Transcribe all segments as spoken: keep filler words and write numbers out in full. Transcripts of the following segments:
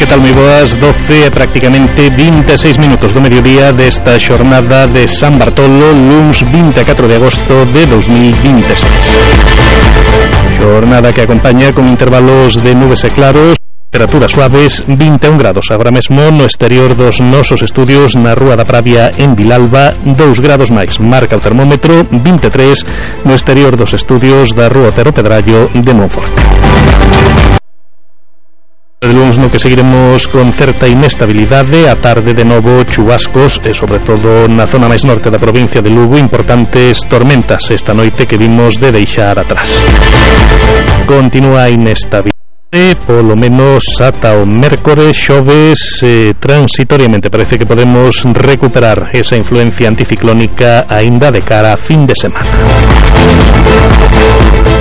Que tal, moi boas? doce e prácticamente vinte e seis minutos do mediodía desta xornada de San Bartolo, luns vinte e catro de agosto de dos mil vinte e seis. Xornada que acompaña con intervalos de nubes e claros, temperaturas suaves, vinte e un grados agora mesmo no exterior dos nosos estudios na Rúa da Pravia en Vilalba, dous grados máis marca o termómetro, vinte e tres no exterior dos estudios da Rúa Otero Pedrallo de Monforte. De luns no que seguiremos con certa inestabilidade, a tarde de novo chubascos e sobre todo na zona máis norte da provincia de Lugo importantes tormentas esta noite que vimos de deixar atrás. Continúa a inestabilidade polo menos ata o mércores, xoves eh, transitoriamente parece que podemos recuperar esa influencia anticiclónica aínda de cara a fin de semana.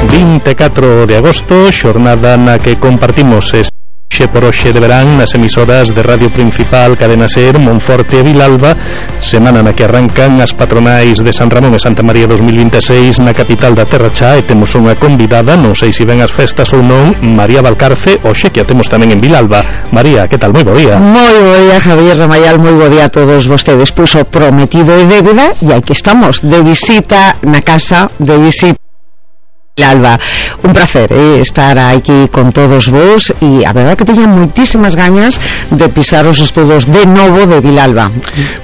vinte e catro de agosto, xornada na que compartimos este Xe por hoxe de verán nas emisoras de Radio Principal, Cadena Ser, Monforte e Vilalba, semana na que arrancan as patronais de San Ramón e Santa María dos mil vinte e seis na capital da Terra Chá, e temos unha convidada, non sei se ven as festas ou non, María Valcarce, hoxe que a temos tamén en Vilalba. María, que tal? Moi bo día. Moi bo día, Javier Ramayal, moi bo día a todos vostedes. Pois o prometido e débeda, e aquí estamos, de visita na casa, de visita Vilalba. Un placer eh, estar aquí con todos vos, e a verdade que teña moitísimas gañas de pisar os estudos de novo de Vilalba.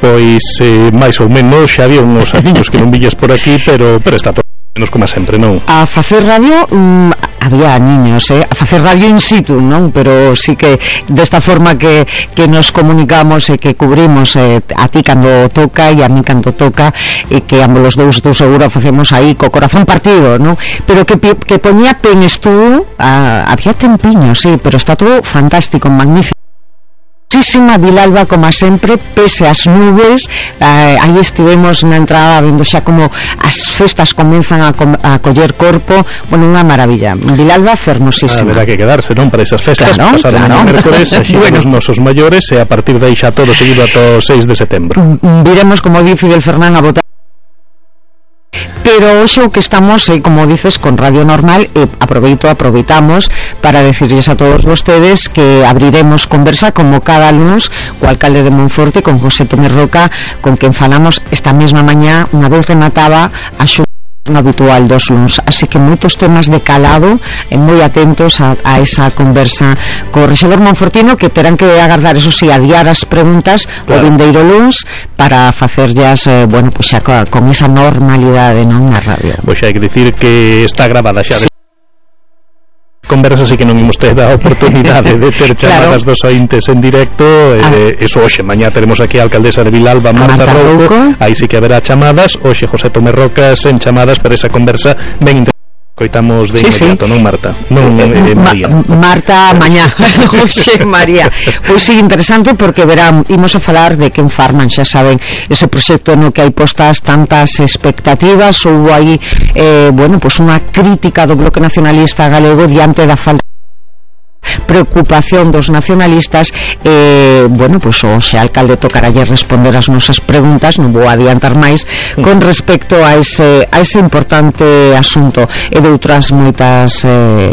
Pois eh, máis ou menos xa había uns amiños que non villes por aquí, pero pero está todo menos como sempre, non? A facer radio mm, había niños, eh? a facer radio in situ, non? Pero sí que desta forma que, que nos comunicamos e que cubrimos eh, a ti cando toca e a mí cando toca, e que ambos os dous, dous seguro facemos aí co corazón partido, non? Pero que, que poñía pen estudo, ah, había tempiño, sí, pero está todo fantástico, magnífico. Muchísima Vilalba, como sempre, pese as nubes, eh, aí estivemos na entrada vendo xa como as festas comenzan a, com, a coller corpo, bueno, unha maravilla. Vilalba fermosísima. Ah, verá que quedarse, non, para esas festas, claro, pasado claro. Mañá mércores, axí bueno. Os nosos maiores, e a partir de aí xa todo seguido ata o seis de setembro. Viremos, como di Fidel Fernán, a votar. Pero hoxe o que estamos, eh, como dices, con Radio Normal, eh, aproveito, aproveitamos para decirles a todos vostedes que abriremos conversa como cada lunes co alcalde de Monforte, con José Tomé Roca, con quen falamos esta mesma mañá, unha vez remataba a xunta habitual dos luns, así que moitos temas de calado, e moi atentos a, a esa conversa co rexedor monfortino, que terán que agardar, eso sí, adiar as preguntas claro. O vindeiro luns para facerllas, eh, bueno, pois xa con esa normalidade, non, na radio. Pois xa hai que dicir que está grabada xa de conversa, así que non imos ter a oportunidade de ter chamadas claro. Dos ointes en directo, eh, ah. Eso hoxe, mañá teremos aquí a alcaldesa de Vilalba, Marta, Marta Rouco, aí sí que haberá chamadas, hoxe José Tomé Roca sen chamadas, pero esa conversa ben interesante. Coitamos de sí, inmediato, sí. Non, Marta? Non, eh, María. Ma Marta, mañá. Oxe, María. Pois sí, interesante, porque verán, imos a falar de Quen Farman, xa saben, ese proxecto no que hai postas tantas expectativas. Houve aí, eh, bueno, pois unha crítica do Bloque Nacionalista Galego diante da falta preocupación dos nacionalistas. eh, bueno, pois o xe alcalde tocaralle responder as nosas preguntas, non vou adiantar máis con respecto a ese, a ese importante asunto, e de outras moitas eh,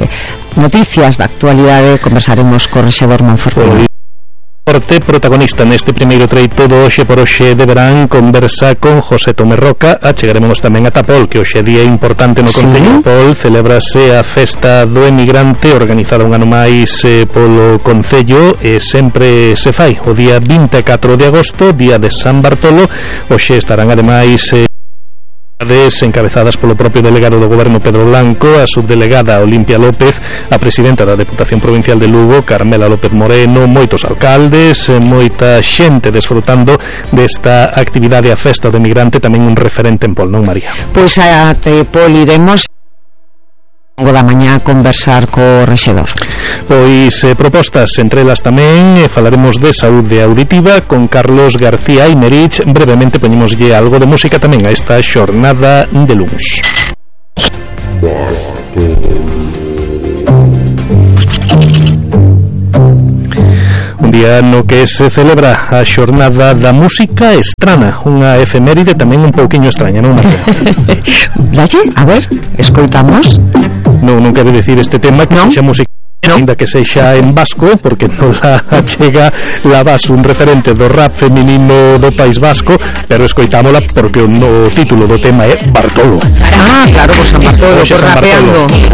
noticias da actualidade conversaremos co rexedor Monfortino. Porte protagonista neste primeiro treito do hoxe por hoxe de verán, conversa con José Tomé Roca. Achegaremos tamén a Tapol, que hoxe é día importante no sí. Concello de Tapol, celebrase a festa do emigrante organizada un ano máis eh, polo Concello, e sempre se fai o día vinte e catro de agosto, día de San Bartolo. Hoxe estarán ademais eh, encabezadas polo propio delegado do Goberno Pedro Blanco, a subdelegada Olimpia López, a presidenta da Deputación Provincial de Lugo, Carmela López Moreno, moitos alcaldes, moita xente desfrutando desta actividade, a festa do emigrante, tamén un referente en Pol, non, María? Pois a Tepol iremos da mañá a conversar co rexedor. Pois eh, propostas, entre elas tamén eh, falaremos de saúde auditiva con Carlos García Imerich. Brevemente poñemoslle algo de música tamén a esta xornada de luns. Un día no que se celebra a xornada da música estrana, unha efeméride tamén un pouquiño extraña, non, Marta? Dalle, a ver, escoitamos. Non, non quero decir este tema que ¿no? xa música ainda que sexa en vasco, porque nos chega la base un referente do rap feminino do País Vasco, pero escoitámola porque o título do tema é Bartolo. Ah, claro, por San Bartolo, por rapeando.